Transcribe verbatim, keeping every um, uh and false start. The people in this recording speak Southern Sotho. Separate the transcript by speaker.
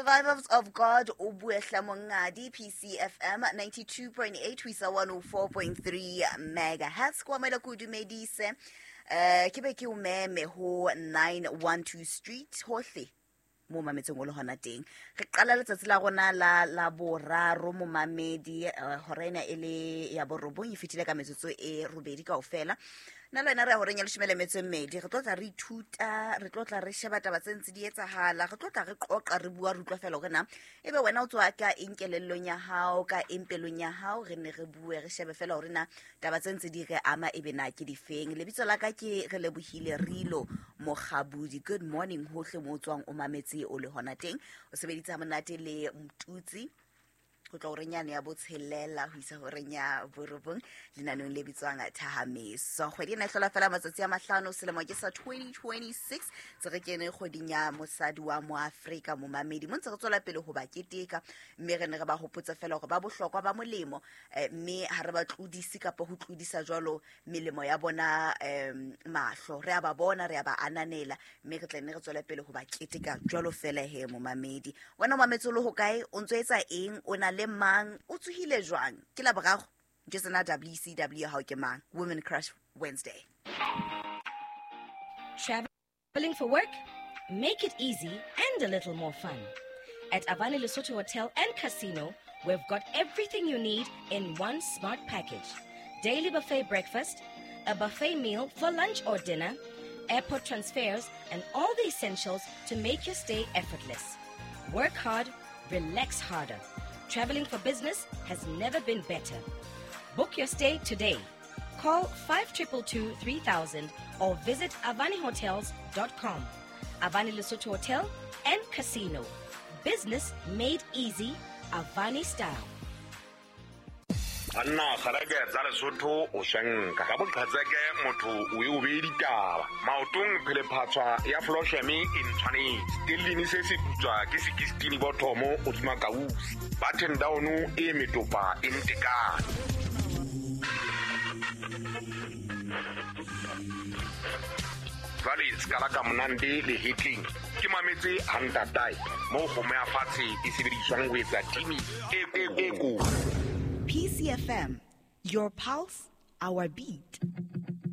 Speaker 1: Survivors of God o buehla mongadi P C F M ninety-two point eight ho isa one oh four point three megahertz. Kwa mela kudumedise eh ke be ke o meme ho nine one two Street hohle mo mametseng o le hona teng. Re qala letsatsi la rona la la boraro momamedi, hora ena e le ya borobong e fetile ka metsotso e robedi kaofela. Nna le wena re ya horeng ya leshome le metso e mmedi, re tlo tla re ithuta, re tlo tla re sheba taba tse ntse di etsahala, re tlo tla re qoqa, re bua, re utlwa fela hore na ebe wena o tswa ka eng kelellong ya hao, ka eng pelong ya hao, re ne re bue, re shebe fela hore na taba tse ntse di re ama ebe na ke difeng. Lebitso la ka ke Relebohile Rilo Mokgabudi. Good morning hohle mo o tswang o mametse o le hona teng. O sebeditse ha monate le Mtutsi ho tla horeng yane ya botshelela ho isa horeng ya borobong lenaneong le bitswang Thahameso. Kgwedi ena e hlola fela matsatsi a mahlano, selemo ke sa twenty twenty-six, tse re kene kgweding ya mosadi wa Moafrika momamedi. Mo ntse re tswela pele ho ba keteka, mme re ne re ba hopotsa fela hore ba bohlokwa ba molemo, mme ha re ba tlodise kapa ho tlodisa jwalo melemo ya bona mahlo. Re a ba bona, re a ba ananela, mme re tla nne re tswele pele ho ba keteka jwalo fela he momamedi. Wena o mametse o le hokae? O ntso etsa eng? O na le mang? O tsohile jwang? Ke la boraro Jetsena W C W hao ke mang? Women Crush Wednesday.
Speaker 2: Traveling for work? Make it easy and a little more fun. At Avani Lesotho Hotel and Casino, we've got everything you need in one smart package. Daily buffet breakfast, a buffet meal for lunch or dinner, airport transfers, and all the essentials to make your stay effortless. Work hard, relax harder. Traveling for business has never been better. Book your stay today. Call five two two two three thousand or visit avani hotels dot com. Avani Lesotho Hotel and Casino. Business made easy, Avani style.
Speaker 3: Anna kgareke tsa Lesotho o shanka ka boqhatseke motho o e o be ditaba maotong phele phatswa ya Flosheme e ntshwanetse tellini se se putswa ke sixteen bothomo o dima kausi button down e metopa e ntekane. Jwale skala ka monande le hitling ke mametse hantatai mo kgomo ya fatshe e sebediswang ho etsa timi e e ko.
Speaker 1: P C F M, your pulse, our beat.